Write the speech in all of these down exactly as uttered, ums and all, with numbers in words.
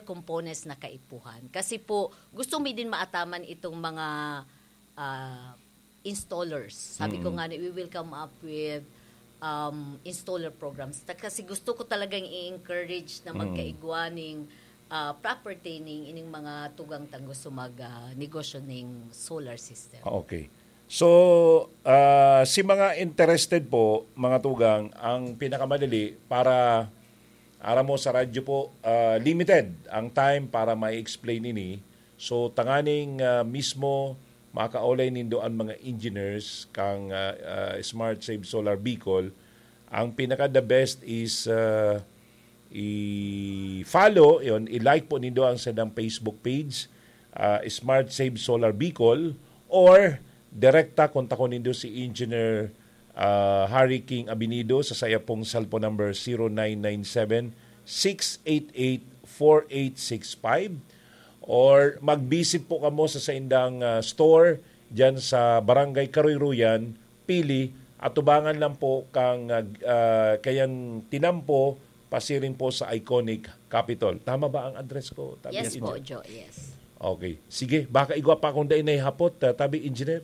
components na kaipuhan. Kasi po, gusto mi din maataman itong mga, ah, installers. Sabi ko Mm. nga, we will come up with, um, installer programs. Ta-, kasi gusto ko talagang i-encourage na Mm. magkaigwa ning, ah, proper training ining mga tugang tang gusto mag, ah, negosyo ning solar system. Ah, okay. So, ah, si mga interested po, mga tugang, ang pinakamadali para, aram mo, sa radyo po, ah, limited ang time para ma-explain ini. So, tanganing, ah, mismo makaulay nindo ang mga engineers kang, ah, ah, Smart Save Solar Bicol, ang pinaka the best is, ah, i-follow, yun, i-like po nindo ang sadang Facebook page, ah, Smart Save Solar Bicol, or direkta kontakon nindo si Engineer, ah, Harry King Abinido sa saya pong cellphone number zero nine nine seven, six eight eight, four eight six five, or mag-visit po kamo sa saindang, ah, store diyan sa Barangay Karuy-ruyan, Pili, atubangan lang po kang, ah, ah, kayan tinampo, pasiring po sa iconic Capitol. Tama ba ang address ko, Tabi Yes po, Engineer? Jo, yes. Okay. Sige, baka igwa pa akong dai naihapot, ah, Tabi Engineer.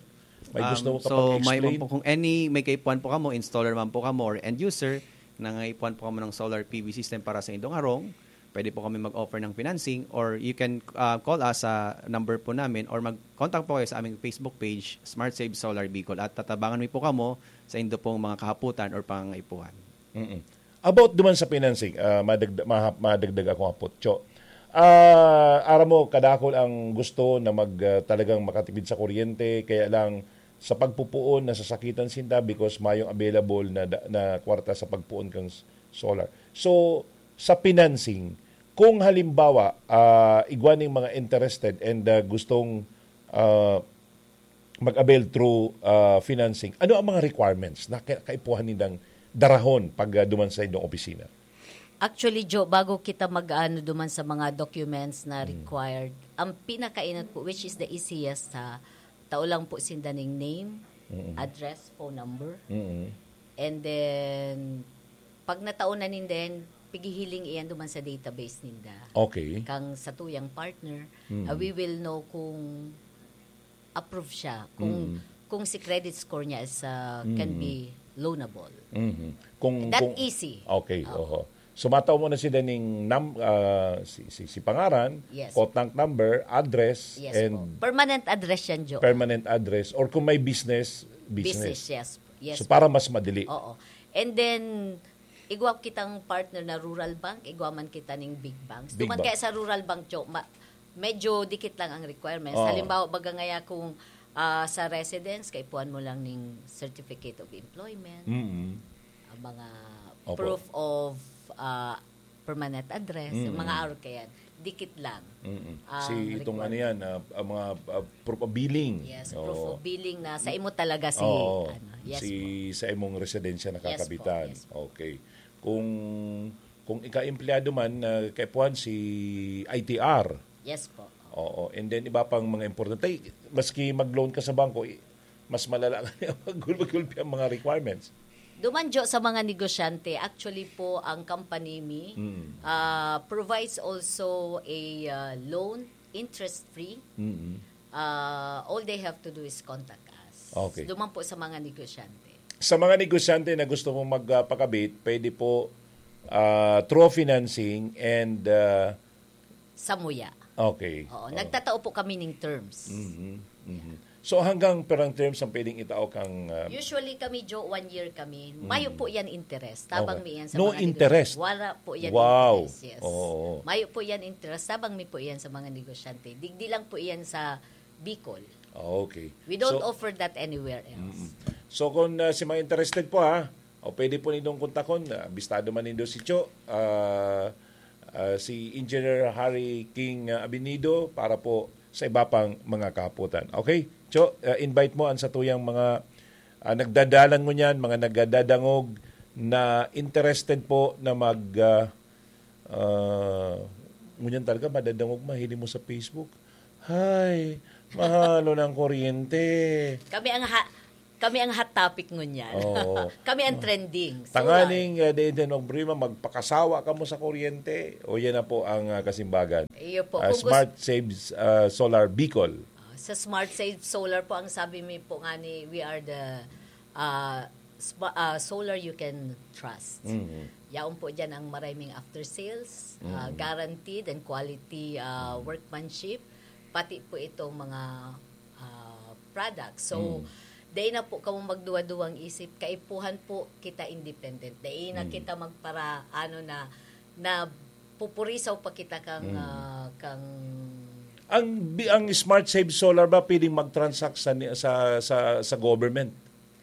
May gusto Um, mo so, kapag may i-explain? man po kung any, may kaipuhan po kamo, installer man po kamo or end user, na nangaipuhan po kamo ng solar P V system para sa indong harong, pwede po kami mag-offer ng financing or you can, ah, call us sa number po namin or mag-contact po kayo sa aming Facebook page, Smart Save Solar Bicol, at tatabangan mi po kamo sa indo pong mga kahaputan or pangangaipuhan. Mm-mm. About duman sa financing, ah, madagda-, mahap-, madagdag akong hapot, Cho. Ah, aram mo, kadakol ang gusto na mag, ah, talagang makatipid sa kuryente, kaya lang sa pagpupuon, nasasakitan sinda because mayong available na da-, na kwarta sa pagpuon kang s-, solar. So, sa financing, kung halimbawa, ah, igwa ning mga interested and, ah, gustong, ah, mag-avail through, ah, financing, ano ang mga requirements na ka-, kaipuhan nindang darahon pag, ah, duman sa inyong opisina? Actually, Jo, bago kita mag-ano duman sa mga documents na Hmm. required, ang pinakainot po, which is the easiest, ha, tao lang po sinda ning name, Mm-mm. address, phone number. Mm-mm. And then, pag natao na ninden, pigihiling iyan duman sa database ninda. Okay. Kang satuyang partner, Mm. ah, we will know kung approve siya, kung, Mm. kung si credit score niya is, ah, can Mm. be loanable. Mhm. Kung, That kung easy. Okay, Oo. oho. So, matao mo na sila ning nam-, ah, si, si, si pangaran, Yes. contact number, address, Yes and po. Permanent address yan, Jo. permanent address, or kung may business, business. Business, yes. Yes So, po. para mas madali. Oo. And then, igwa kitang partner na rural bank, igwa man kita ning big banks. Big Duman bank. kaya sa rural bank, Jo, ma-, medyo dikit lang ang requirements. Oo. Halimbawa, baga ngaya kung, ah, sa residence, kaipuhan mo lang ning certificate of employment, Mm-mm. ang mga Opo. proof of, ah, permanent address, yung Mm-mm. mga arog kayan, dikit lang Mm-mm. ang Si itong requirement. ano yan, ah, ang mga, ah, proof of billing. Yes, proof Oo. of billing na sa imo talaga si, Oo. ano, yes Si, po. sa imong residensya na Yes po, kakabitan. yes po. Okay. Kung, kung ika-empleyado man, ah, kaipuhan si I T R. Yes po. Oo. And then, iba pang mga importante. Ay, maski mag-loan ka sa bangko, i-, mas malala ka niya pag gulpi-gulpi ang mga requirements. Duman, Jo, sa mga negosyante, actually po, ang company mi, Mm. ah, provides also a, ah, loan, interest-free. Mm. Ah, all they have to do is contact us. Okay. Duman po sa mga negosyante. Sa mga negosyante na gusto mong magpakabit, pwede po, ah, through financing and, ah, Samuya. Okay. Oo, Oh. nagtatao po kami ning terms. Mhm, mhm. So, hanggang perang terms ang pwedeng itao kang, ah, Usually kami, Jo, one year kami. Mm. Mayo po yan interest. Tabang Okay. mi yan sa No mga negosyo. interest? Wala po yan Wow. interest, yes. Oo. Mayo po yan interest. Tabang mi po yan sa mga negosyante. Digdi lang po yan sa Bicol. Okay. We don't So, offer that anywhere else. Mm-mm. So, kung, ah, si mga interested po, ha, o pwede po nindong kontakon, ah, bistado man nindo si Cho, ah, ah, si Engineer Harry King, ah, Abinido para po sa iba pang mga kahapotan. Okay? Cho, ah, invite mo ang satuyang mga, ah, nagdadalan ngunyan, mga nagdadadangog na interested po na mag, ah, ah, ngunyan talaga madadangog, mahiling mo sa Facebook. Hay, mahalo ng kuryente. Kami ang ha-, Kami ang hot topic ngunyan. Oo. Kami ang trending. So, Tanganing uh, Deden Obrima, magpakasawa kamo sa kuryente o yan na po ang uh, kasimbagan. Iyo po. Uh, Kung gusto- Smart Saves uh, Solar Bicol. Sa Smart Save Solar po, ang sabi mi po nga ni, we are the uh, spa- uh, solar you can trust. Mhm. Yaon po dyan ang maraming after sales, uh, Mhm. guaranteed and quality uh, workmanship, pati po itong mga uh, products. So, Mm. dahil na po kamo magduwa-duwang isip, kaipuhan po kita independent. Dahil na Mm. kita magpara, ano na, na pupurisaw pa kita kang, Mm. ah, kang Ang bi- ang Smart Save Solar ba pwedeng mag-transact sa ni- sa sa, sa government?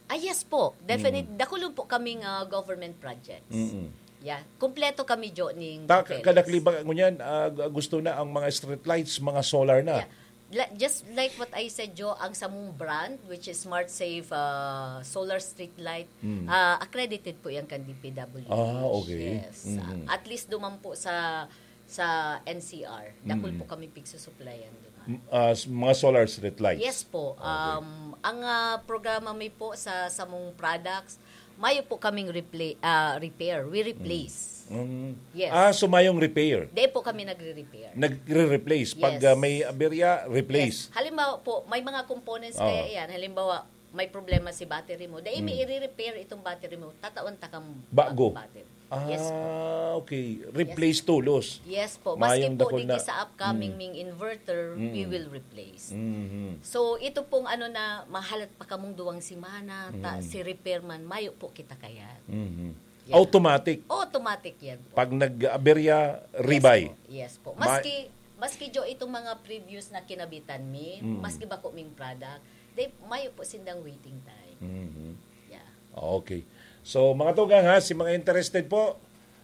Ah, yes po. Definite. Dakulon po kaming ah, government projects. Mm-mm. Yeah. Kompleto kami, Jo, ning Ta- papeles. Kadakli ba ngunyan ah, gu- gusto na ang mga streetlights, mga solar na? Yeah. La- just like what I said, Jo, ang samong brand, which is Smart Save ah, Solar Street Light, Mm. ah, accredited po yan kan D P W H. Ah, okay. Yes. Mhm. At least duman po sa sa N C R, dakul Mm. po kami pigsusuplayan duman. M- ah, s- mga solar streetlights. Yes po. Okay. Um, ang ah, programa mi po sa samong products, mayo po kaming repla- ah, repair. We replace. Mm. Yes. Ah, so mayong repair. Di po kami nagre-repair. Nagre-replace. Pag Yes. ah, may aberya, replace. Yes. Halimbawa po, may mga components Oo. kaya yan. Halimbawa, may problema si battery mo. Dahil may Mm. i-repair itong battery mo, tatawan ta kang Bago. bagong battery. Yes po. Ah, okay. Replace tulos. Yes po. Maski Mayong po dakul di na. sa upcoming Mm. ming inverter, we Mm. will replace. Mhm. So, ito pong ano na, mahalat pa kamong duwang semana, ta, Mm. si repairman, mayo po kita kaya. Mhm. Yeah. Automatic. Automatic yan po. Pag nag-aberya, rebuy. Yes po. Yes po. Ma- Maski, maski, Jo, itong mga previous na kinabitan mi, Mm. maski bako ming product, they, mayo po sindang waiting time. Mhm. Yeah. Okay. So, mga tugang ha, si mga interested po,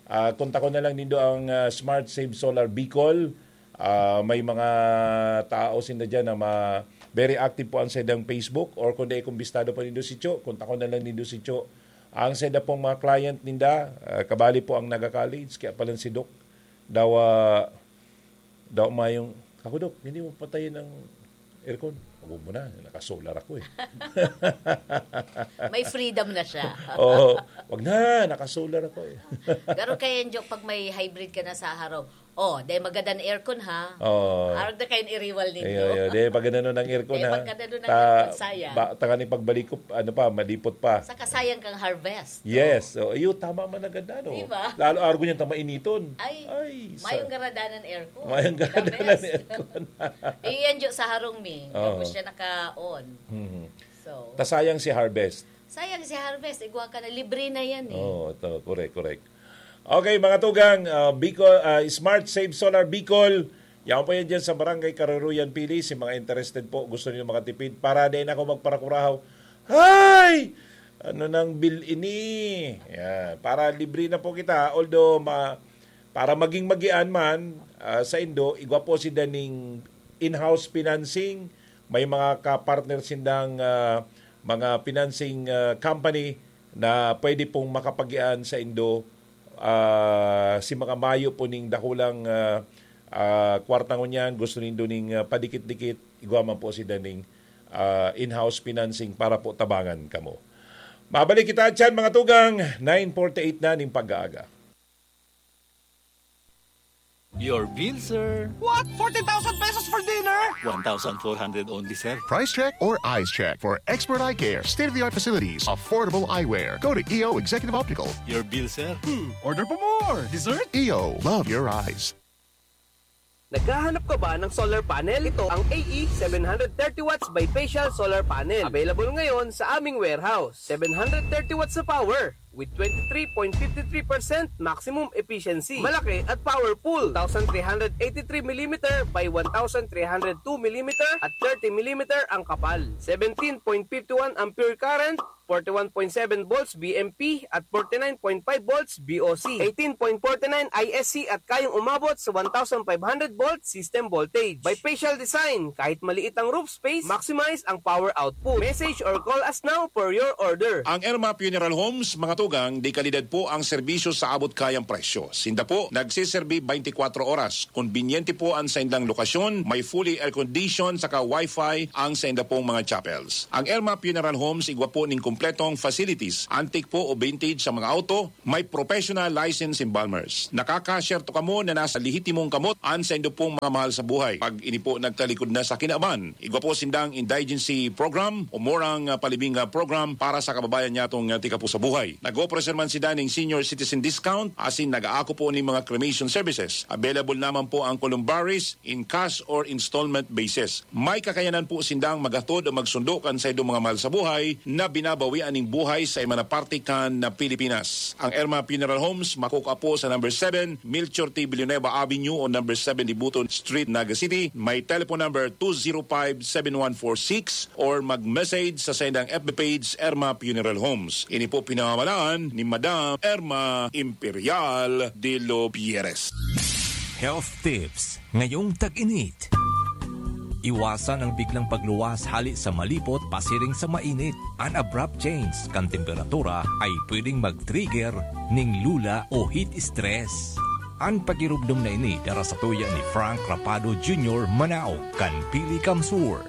ah, kontakon na lang nindo ang ah, Smart Save Solar Bicol. Ah, may mga tao sinda dyan na ma- very active po ang saidang Facebook, or kung dai kumbistado pa nindo si Cho, kontakon na lang nindo si Cho. Ang saida pong mga client ninda, ah, kabali po ang naga-college, kaya pala si Doc, daw, ah, daw mayong, "Ako, Doc, hindi mo patayin ang aircon." "Wag mo na, naka-solar ako eh." May freedom na siya. Oo, "Wag na, naka-solar ako eh." Pero kaya, Jo, pag may hybrid ka na sa haraw, oh, dahil magadan aircon ha. Oo. Arog na kayo iriwal ninyo. Ayo, ayo. Di, pag ganun ang aircon, Di, ha? pag ganun ang aircon, sayang. Ba, tangan yung pagbalik ko, ano pa, malipot pa. Saka sayang kang harvest. Yes. So, iyo, tama man agad na, no? Di ba? Lalo, argo niyan tama initon. Ay, Ay, sa- mayong garadanan aircon. Mayong The garadanan best. aircon. Eh, yan, Jo, sa harong mi. Oo. Tapos siya naka-on. Mhm. So, Tasayang si harvest. Sayang si harvest. Igwa ka na. Libre na yan eh. Oo, ito. Correct, correct. Okay, mga tugang, ah, Bicol, ah, Smart Save Solar Bicol. Yan po yan dyan sa Barangay Karuruyan, Pili. Si mga interested po, gusto niyo makatipid. Para din ako magparakurahaw. Hay! Ano nang bill ini? Yan. Para libre na po kita. Although, ma- para maging magian man ah, sa Indo, igwa po si daning in-house financing. May mga ka-partner sindang ah, mga financing ah, company na pwede pong makapagian sa Indo ah, si mga mayo po ning dakulang ah, ah, kwarta ngunyan, gusto nindo ning ah, padikit-dikit, igwa man po si daning ah, in-house financing para po tabangan kamo. Mabalik kita dyan, mga tugang, nine forty-eight na ning pag-aaga. Your bill, sir. What? Forty thousand pesos for dinner? One thousand four hundred only, sir. Price check or eyes check for expert eye care, state-of-the-art facilities, affordable eyewear. Go to E O Executive Optical. Your bill, sir. Hmm, order pa more. Dessert? E O, love your eyes. Naghahanap ka ba ng solar panel? Ito ang A E seven hundred thirty watts bifacial solar panel. Available ngayon sa aming warehouse. Seven hundred thirty watts na power with twenty-three point fifty-three percent maximum efficiency. Malaki at powerful. Two thousand three hundred eighty-three millimeter by one thousand three hundred two millimeter at thirty millimeter ang kapal. Seventeen point fifty-one ampere current, forty-one point seven volts B M P at forty-nine point five volts B O C, eighteen point forty-nine I S C at kayang umabot sa one thousand five hundred volt system voltage. Bifacial design, kahit maliit ang roof space, maximize ang power output. Message or call us now for your order. Ang Erma Funeral Homes, mga tugang, de kalidad po ang serbisyo sa abot kayang presyo. Sinda po nagsiserbi twenty-four oras. Konbinyente po ang saindang lokasyon, may fully air-conditioned saka wifi ang sainda pong mga chapels. Ang Erma Funeral Homes igwa po ning kompletong facilities, antique po o vintage sa mga auto, may professional license embalmers. Nakakasyerto kamo na nasa lehitimong kamot ang saindo pong mga mahal sa buhay. Pag ini po nagtalikod na sa kinaban, igwa po sindang indigency program o murang, ah, palibing, ah, program para sa kababayan nyatong, ah, tika po sa buhay. Nag-operasyon man sinda ning senior citizen discount, asin nag-aako po ning mga cremation services. Available naman po ang columbaries in cash or installment basis. May kakayanan po sindang maghatod o magsundo kan saindong mga mahal sa buhay na binabawian ning buhay sa iba na parte kan na Pilipinas. Ang Erma Funeral Homes makukuha po sa number seven, Melchor T. Villanueva Avenue o number seven Dibuton Street, Naga City. May telephone number two zero five seven one four six or mag-message sa saindang F B page, Erma Funeral Homes. Ini po pinamalaan ni Madam Erma Imperial de los Pierres. Health tips ngayong tag-init. Iwasan ang biglang pagluwas hali sa malipot pasiring sa mainit. An abrupt change kan temperatura ay pwedeng mag-trigger ning lula o heat stress. An pagirumdom na ini dara sa tuya ni Frank Rapado Junior, Manao, kan Pili Kamsur.